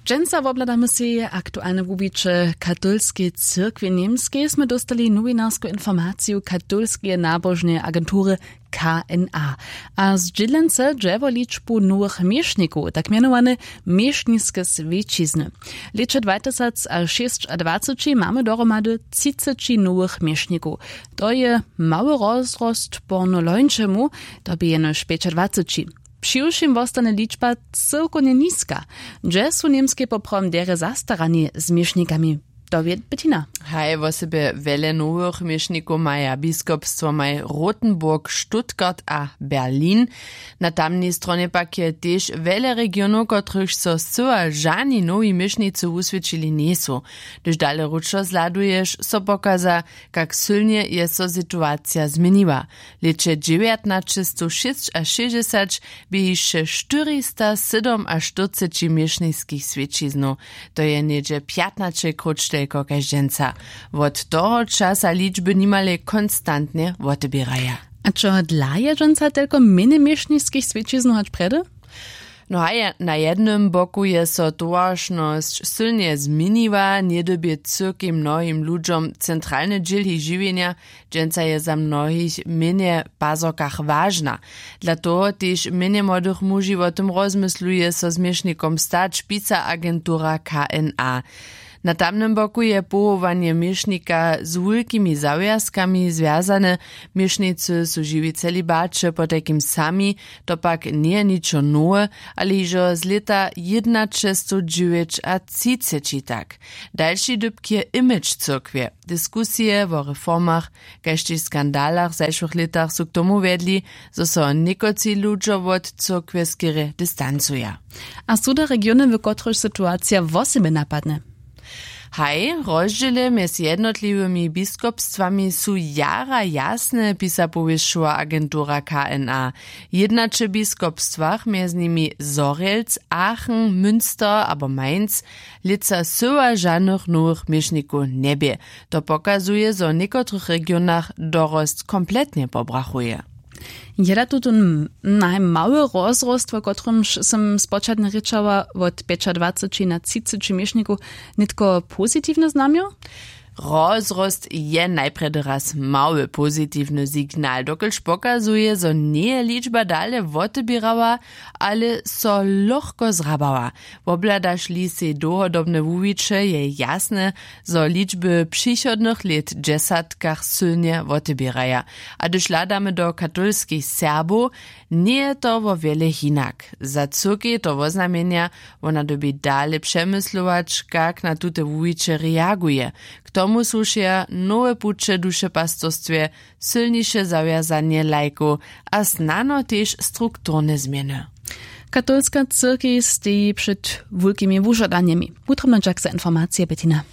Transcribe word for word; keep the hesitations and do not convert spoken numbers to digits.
Dźensa wobhladamy sej aktualne wuwiće katolskeje cyrkwje w němskej smy dóstali nowinarsku informaciju katolskeje nabožneje agentury, kna. A zdźělency dźe wo ličbu nowych měšnikow tak mjenowane měšniske swjećizny. W lěće dwatysacšěsćadwaceći mamy dohromady třiceći nowych měšnikow. To je mały rozrost porno lońšemu, to bě jenož pjećadwaceći. Přiwšěm wostane ličba cyłkownje niska. Hdźe su w němskej poprawom derje zastarani z měšnikami? To wě bettina. Haj wosebje wjele nowych měšnikow maja biskopstwomaj rotenburg, stuttgart a berlin. Na tamnej stronje pak je tež wjele regionow kotrychž so scyła žani nowi měšnicy wuswědčili njejsu. Hdyž dale wróćo zhladuješ so pokaza, kak sylnje je so situacija změniła. W lěće dźewjatnaćestowšěsćašěsćdźesać bě hišće štyrista sydomaštyrceći měšniskich swjećiznow. To je něhdźe pjatnaće króć telko kaž dźensa. Wot toho časa ličby nimale konstantnje woteběraja. A čehodla je dźensa telko mjenje měšniskich swjećiznow hač prjedy? No haj, na jednym boku je so towaršnosć sylnje změniła, njedyrbje cyrkej mnohim ludźom centralny dźěl jich žiwjenja. Dźensa je za mnohich mjenje w pazorkach wažna. Dla toho tež mjenje młodych muži wo tym rozmysluje so z měšnikom stać, pisa agentura kna. Na tamnym boku je powołanje měšnika z wulkimi zawjazkami zwjazane. Měšnicy su žiwi w celibaće potajkim sami. To pak njeje ničo nowe, ale hižo z lěta jědnaćestowdźewjećatřiceći tak. Dalši dypk je image cyrkwje. Diskusije wo reformach kaž tež skandalach w zašłych lětach su k tomu wjedli, zo so někotři ludźo wot cyrkwje skerje distancuja. A su da regiony w kotrychž situacija wosebje napadne? Haj, rozdźěle mjez jednotliwymi biskopstwami su jara jasne, pisa powěsćowa agentura kna. W jědnaće biskopstwach, mjez nimi zhorjelc, aachen, münster abo mainz, lětsa syła žanych nowych měšnikow njebě. To pokazuje zo w někotrych regionach dorost kompletnje pobrachuje. Je da tutón najmały rozrost wo kotrymž sym spočatnje rěčała wot pjećadwaceći na třiceći měšnikow nětko pozitiwne znamjo? Rozrost je najprjedy raz mały pozitiwny signal dokelž pokazuje zo njeje ličba dale woteběrała, ale so lochko zhrabała. Wobhladaš-li sej dołhodobne wuwiće je jasne, zo ličby přichodnych lět w dźesatkach sylnje woteběraja. A hdyž hladamy do katolskich serbow, njeje to wo wjele hinak. Za cyrkej to woznamjenja, wona dyrbi dale přemyslować kak na tute wuwiće reaguje. K tomu słušeja nowe puće w dušepastorstwje, sylniše zawjazanje lajkow a snano tež strukturne změny. Katolska cyrkej steji před wulkimi wužadanjemi. Wutrobnodźak za informacije, bettina.